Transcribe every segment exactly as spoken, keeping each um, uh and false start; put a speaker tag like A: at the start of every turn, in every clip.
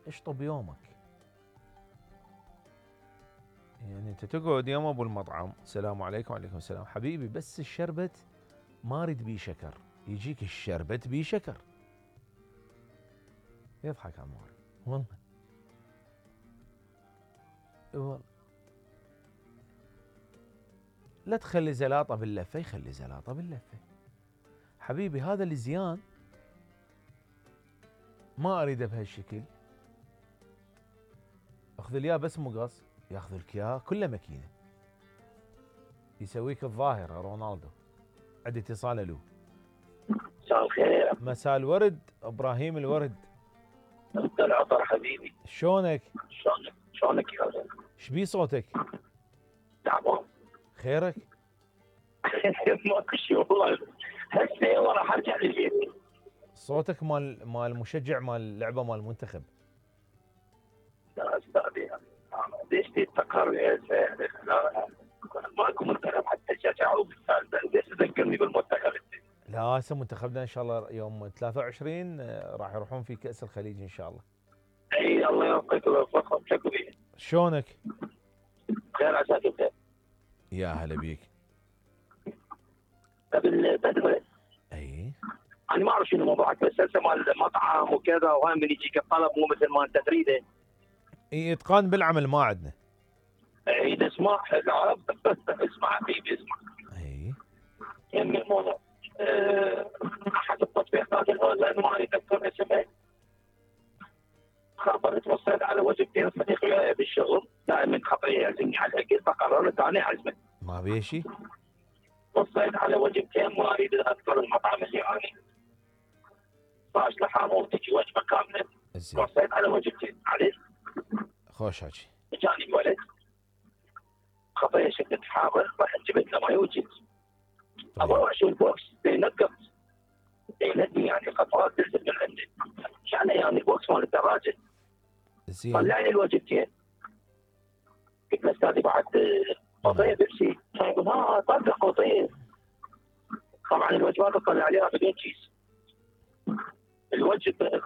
A: اشطب يومك. يعني انت تقعد يوم ابو المطعم، السلام عليكم وعليكم السلام حبيبي، بس الشربت ما اريد بيه شكر، يجيك الشربت بيه شكر. يضحك عموري والله. والله لا تخلي زلاطه باللفه، يخلي زلاطه باللفه. حبيبي هذا الزيان ما اريده بهالشكل، اخذ لي بس مقص، ياخذ لك اياه كله ماكينه، يسويك الظاهره رونالدو. عندي اتصال. الو.
B: مساء الخير.
A: مساء الورد ابراهيم الورد.
B: انت العطر حبيبي.
A: شلونك؟
B: شلونك شلونك يا ولد؟
A: ايش بيه صوتك؟
B: تعبان.
A: خيرك؟
B: ماكو شيء والله، هسه راح ارجع للبيت.
A: صوتك مال مال مشجع مال لعبه مال المنتخب.
B: لا استاذي ليش تتفكر لا ماكو منتخب حتى شجعوا ليش تذكرني بالمنتخب.
A: لا هسه منتخبنا ان شاء الله يوم ثلاثة وعشرين راح يروحون في كأس الخليج ان شاء الله.
B: اي الله يوفقك ويوفقهم. شكو بيه؟
A: شلونك؟
B: خير عساك انت.
A: يا هلا بيك.
B: بالبدوه.
A: اي
B: انا ما اعرف شنو موضوعك، بس هسه مال المطعم وكذا، وهاي من يجيك الطلب مو مثل ما انت تريده.
A: اي اتقان بالعمل ما عندنا.
B: اي اسمع العرب. اسمع حبيبي اسمع.
A: اي
B: يمي الموضوع أه، احد التطبيقات الاونلاين ما اريد اذكر اسمه، خبرت وصلت على وجبتين صديق وياي بالشغل، دائما خطيه يعزمني على الاكل، فقررت انا اعزمه.
A: ما بيه شيء.
B: وصلت على وجبتين ما اريد اذكر المطعم اللي انا باش لحام وتجي وجبه كامله.
A: زين.
B: وصلت على وجبتين عليه.
A: خوش حكي.
B: جاني ولد خطيه شدت حامل، رحت جبت له ماي وجبت. ابغى اروح اشوف البوكس ينقط يلدي يعني خطوات تنزل من عندي، عشان يعني البوكس مال الدراجه.
A: زين.
B: طلع لي الوجبتين، قلت له استاذي بعد قضيه بيبسي، يقول ها طلع قضيه. طبعا الوجبات تطلع عليها بدون كيس. الوجب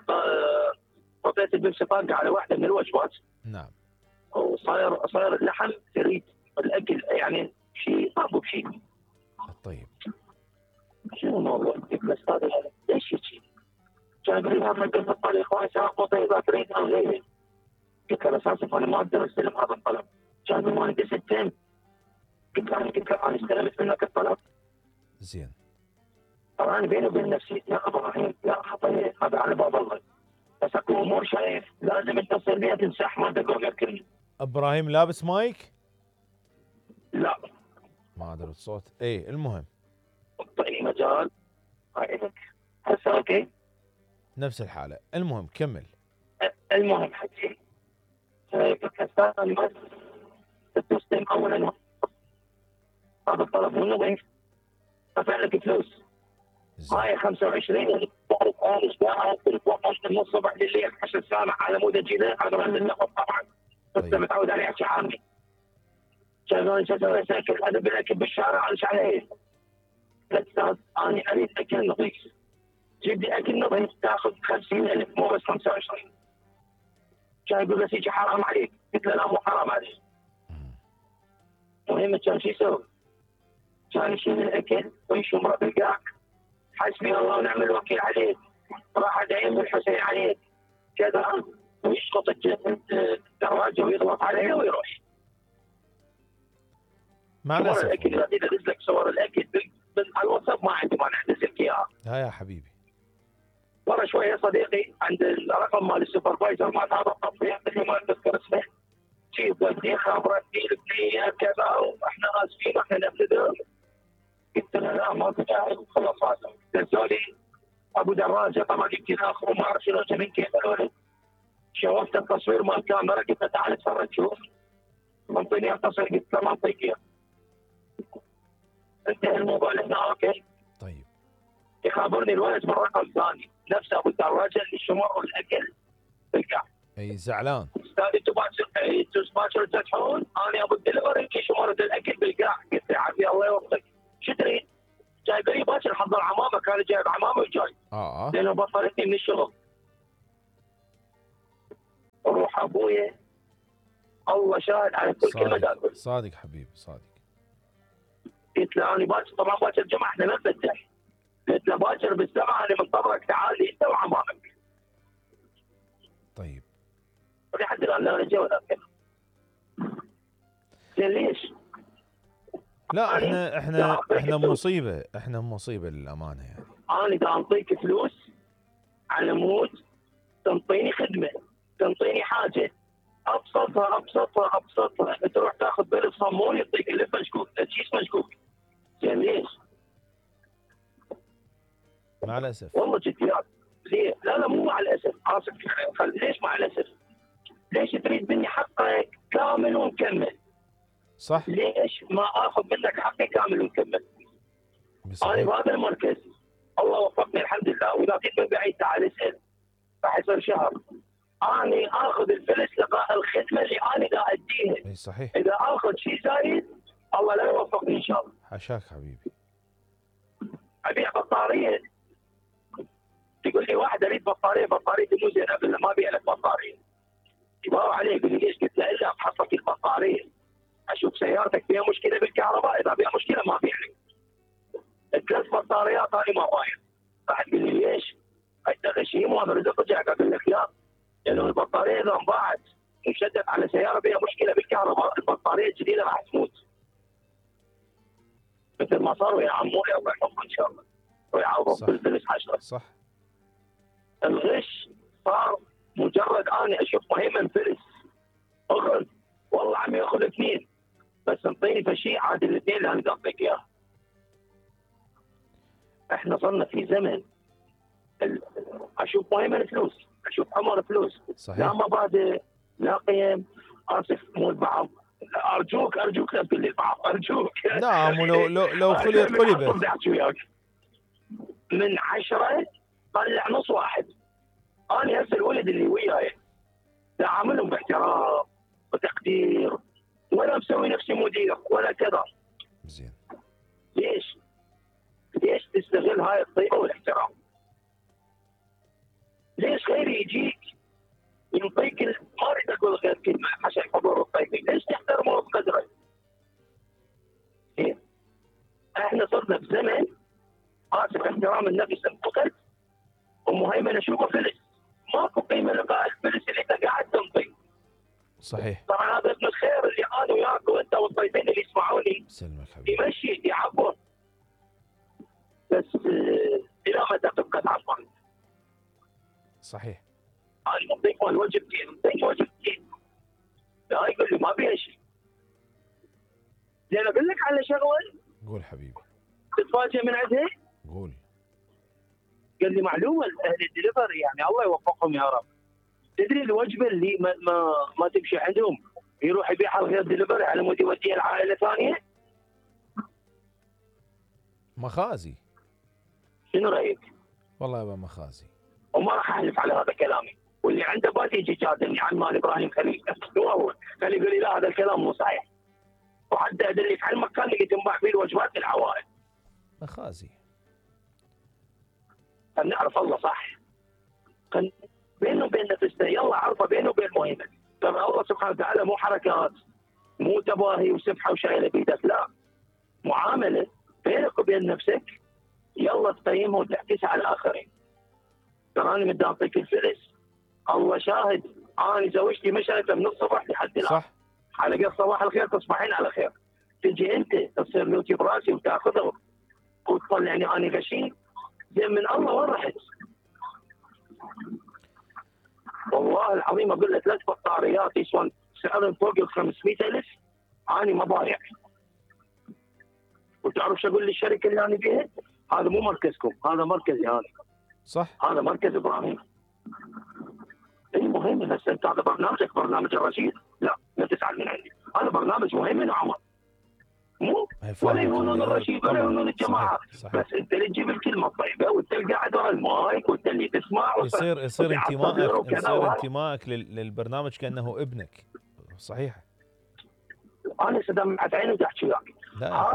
B: قضيه البيبسي طاقه على واحده من الوجبات.
A: نعم.
B: وصاير صاير اللحم تريد الاكل يعني شيء طابو بشيء.
A: طيب.
B: شنو الموضوع؟ قلت له استاذي ليش هيك؟ كان يقول لي هذا قلت الطريق وايد قضيه اذا تريد او غيره. قلت له بس اسف انا ما اقدر استلم هذا الطلب. كان يقول ما عندي ستين. قلت له انا قلت له انا استلمت منك الطلب.
A: زين.
B: طبعا بيني وبين نفسي يا ابراهيم لا خطيه هذا على باب الله، بس اكو امور شايف لازم اتصل بيها تنسح ما تقول غير كلمه.
A: ابراهيم لابس مايك؟
B: لا
A: ما ادري الصوت. اي المهم
B: اعطيني مجال عينك هسه اوكي.
A: نفس الحاله. المهم كمل.
B: المهم حكي قلت له استاذ انا ما تستلم اولا هذا الطلب منه وين؟ دفع لك فلوس. هاي خمسة وعشرين تعرف انا ايش قاعد تليفون من الصبح لليل عشر ساعه على مود اجيله على رد النقط طبعا. انت متعود عليه احكي عامي. شغال شغال ساكت هذا بالاكل بالشارع على عليه. لا استاذ انا اريد اكل نظيف. جيب لي اكل نظيف تاخذ خمسين ألف مو بس خمسة وعشرين. كان يقول بس يجي حرام عليك. قلت له لا مو حرام عليك. المهم كان شو يسوي؟ كان يشيل الاكل ويشمره بالقاع. حسبي الله ونعم الوكيل عليك. راح دايم الحسين عليك كذا ويسقط الدراجه ويضغط عليها ويروح.
A: مع الاسف
B: الاكل اذا نزل لك صور الاكل على الواتساب ما عندي مانع انزل لك اياها.
A: ها يا حبيبي.
B: ورا شويه صديقي عند الرقم مال السوبرفايزر مال هذا التطبيق اللي ما اتذكر اسمه. جيب ودي خبرتني البنيه كذا واحنا اسفين واحنا نبتدر. قلت له لا ماكو داعي خلاص هذا. نزلوا لي ابو دراجه طبعا يمكن اخر ما اعرف شنو من كيف الولد. شوفت التصوير مال الكاميرا قلت له تعال اتفرج شوف. منطيني التصوير قلت له ما انطيك اياه. انتهى الموضوع لهنا اوكي.
A: طيب.
B: يخابرني الولد من رقم ثاني نفس ابو الدراجه اللي شمروا الاكل بالقاع.
A: اي زعلان.
B: استاذ انتم باكر انتم باكر تفتحون انا ابو الدليفري اللي شمرت الاكل بالقاع. قلت له عافيه الله يوفقك. شو تريد؟ جايب لي باكر حضر عمامه كان جايب عمامه وجاي.
A: اه
B: لانه بطلتني من الشغل. ابويا الله شاهد على كل كلمه
A: صادق
B: اقول.
A: صادق حبيبي صادق.
B: قلت له انا باكر، طبعا باكر الجمعه احنا ما نفتح، قلت له باكر بالسماء انا منتظرك تعال لي انت وعمامك.
A: طيب
B: لحد الان لا رجع ولا كلام. زين ليش؟
A: لا
B: يعني
A: احنا
B: دا
A: احنا
B: أعطيك
A: احنا
B: فلوس.
A: مصيبه، احنا مصيبه للامانه يعني.
B: انا دا اعطيك فلوس على مود تنطيني خدمه، تنطيني حاجه ابسطها ابسطها ابسطها، تروح تاخذ بلد صمون يعطيك اللف مشكوك، تجيس مشكوك. زين ليش؟
A: مع الاسف.
B: والله جد يا ليه؟ لا لا مو مع الاسف، اسف. خل... ليش مع الاسف؟ ليش تريد مني حقك كامل ومكمل؟
A: صح.
B: ليش ما اخذ منك حقي كامل ومكمل؟ انا
A: صحيح.
B: بهذا المركز الله وفقني الحمد لله، واذا جيت من بعيد تعال اسال راح يصير شهر. اني اخذ الفلس لقاء الخدمه اللي انا دا اديها.
A: اي صحيح.
B: اذا اخذ شيء زايد الله لا يوفقني ان شاء الله.
A: حاشاك حبيبي.
B: ابيع بطاريه، تقول لي واحد اريد بطاريه، بطاريتي مو زينه، اقول له ما ابيع لك بطاريه. يباوع عليه يقول لي ليش؟ قلت له الا افحص لك البطاريه، اشوف سيارتك فيها مشكله بالكهرباء، اذا فيها مشكله ما ابيع لك. ثلاث بطاريات انا ما بايع. راح تقول لي ليش؟ انت غشيم وانا اريد ارجعك، اقول لك لا، لانه البطاريه اذا انباعت وشدت على سياره فيها مشكله بالكهرباء البطاريه الجديده راح تموت. مثل ما صار ويا عموري الله يحفظه ان شاء الله ويعوضه بالفلس حشره.
A: صح.
B: الغش صار مجرد اني اشوف مهيمن فلس اخذ، والله عم ياخذ اثنين بس انطيني فشيء عاد الاثنين اللي انا اعطيك اياه. احنا صرنا في زمن ال... اشوف مهيمن فلوس، اشوف عمر فلوس.
A: صحيح.
B: لا مبادئ لا قيم. اسف مو البعض، ارجوك ارجوك لا تقول لي البعض ارجوك.
A: نعم. ولو لو لو خليت قلبت
B: من عشرة طلع نص واحد. انا هسه الولد اللي وياي تعاملهم باحترام وتقدير، ولا مسوي نفسي مدير ولا كذا.
A: زين.
B: ليش؟ ليش تستغل هاي الطيبه والاحترام؟ ليش غيري يجيك يعطيك ما اريد اقول غير كلمه عشان حضور الطيبين، ليش تحترمه بقدره؟ إيه؟ احنا صرنا بزمن اسف احترام النفس انفقد ومهيمن اشوفه فلس، ماكو قيمه لقاء الفلس اللي انت قاعد تنطي.
A: صحيح.
B: طبعا هذا اسم الخير اللي انا وياك وانت والضيفين اللي يسمعوني
A: سلمك حبيبي.
B: يمشي يعبر، بس الى متى تبقى تعبر؟
A: صحيح.
B: انا مضيف واجبتي، مضيف واجبتي. لا يقول لي ما بيها شيء. زين اقول لك على شغله؟
A: قول حبيبي.
B: تتفاجئ من عندها؟
A: قول.
B: قال لي معلومه اهل الدليفري يعني الله يوفقهم يا رب. تدري الوجبه اللي ما ما, ما تمشي عندهم يروح يبيعها غير دليفري على مود يوديها لعائله ثانيه؟
A: مخازي.
B: شنو رايك؟
A: والله يبا مخازي.
B: وما راح احلف على هذا كلامي، واللي عنده بات يجي جادلني عن مال ابراهيم خليل. هو هو خلي يقول لي لا هذا الكلام مو صحيح، وحتى ادلك على المكان اللي تنباع فيه الوجبات للعوائل.
A: مخازي.
B: نعرف الله صح. بينه وبين نفسنا يلا عرفه بينه وبين مهمه. ترى الله سبحانه وتعالى مو حركات، مو تباهي وسبحه وشايله بيدك، لا، معامله بينك وبين نفسك يلا تقيمها وتعكسها على الاخرين. ترى انا بدي اعطيك الفلس الله شاهد، انا زوجتي مشت من الصبح لحد الان.
A: صح.
B: على قد صباح الخير تصبحين على خير. تجي انت تصير لوتي براسي وتاخذه وتطلعني انا غشيم. زين من الله وين رحت؟ والله العظيم اقول لك ثلاث بطاريات يسوون سعرهم فوق ال خمسمئة ألف انا ما بايع. وتعرف شو اقول للشركه اللي انا بيها؟ هذا مو مركزكم، هذا مركزي انا.
A: صح.
B: هذا مركز ابراهيم. اي مهم، بس انت هذا برنامجك برنامج الرشيد، لا لا تزعل من عندي، هذا برنامج مهم من عمر. مو ولا يهونون الرشيد ولا يهونون الجماعه، بس انت اللي تجيب الكلمه الطيبه وانت اللي قاعد ورا المايك وانت اللي تسمع.
A: يصير يصير انتمائك يصير انتمائك للبرنامج كانه ابنك. صحيح.
B: انا سدمعت عيني وتحكي وياك.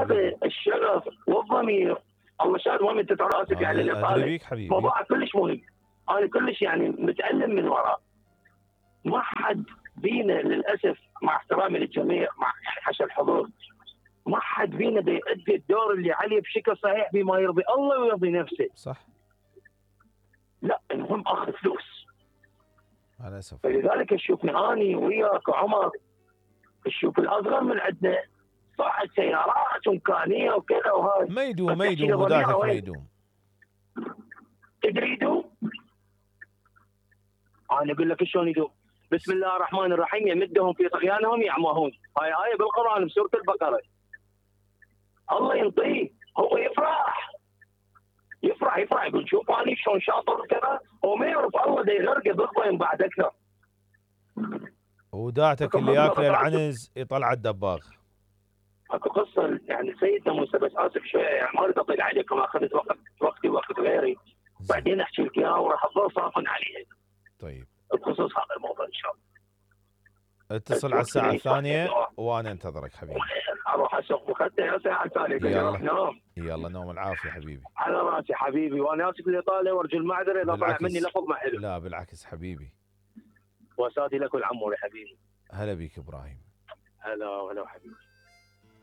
B: هذا الشغف والضمير الله شاهد وين انت ترى اسف يعني
A: اللي حبيبي
B: موضوع كلش مهم. انا كلش يعني متألم من وراه. ما حد بينا للاسف مع احترامي للجميع، مع يعني حشا الحضور، ما حد فينا بيؤدي الدور اللي عليه بشكل صحيح بما يرضي الله ويرضي نفسه.
A: صح.
B: لا، المهم اخذ فلوس.
A: مع الاسف.
B: فلذلك تشوفني اني وياك وعمر، تشوف الاصغر من عندنا صاحب سيارات وامكانيه وكذا وهاي.
A: ما يدوم
B: بس
A: ما
B: تحكي
A: يدوم
B: لي ضميره
A: وداعتك ما
B: وين؟
A: يدوم.
B: تدري يدوم؟ انا اقول لك شلون يدوم. بسم الله الرحمن الرحيم، يمدهم في طغيانهم يعمهون. هاي آية بالقرآن بسورة البقرة. الله ينطيه، هو يفرح يفرح يفرح يقول شوف أنا شلون شاطر وكذا، هو ما يعرف الله دا يغرقه بالضيم بعد أكثر.
A: وداعتك اللي ياكله العنز يطلع الدباغ.
B: اكو قصه يعني سيدنا موسى، بس اسف شويه يعني ما اريد اطيل عليكم، اخذت وقت وقتي وقت غيري، بعدين احكي لك اياها وراح اظل صافن عليها.
A: طيب.
B: بخصوص هذا الموضوع ان شاء الله.
A: اتصل على الساعة الثانية وانا انتظرك حبيبي.
B: اروح اسوق مخدة يا ساعة الثانية.
A: يلا
B: نوم.
A: يلا نوم العافية حبيبي.
B: على راسي حبيبي، وانا اسف الاطالة وارجو المعذرة اذا طلع مني لفظ ما حلو.
A: لا بالعكس حبيبي.
B: وسادي لك والعمور يا حبيبي.
A: هلا بيك ابراهيم.
B: هلا هلا حبيبي.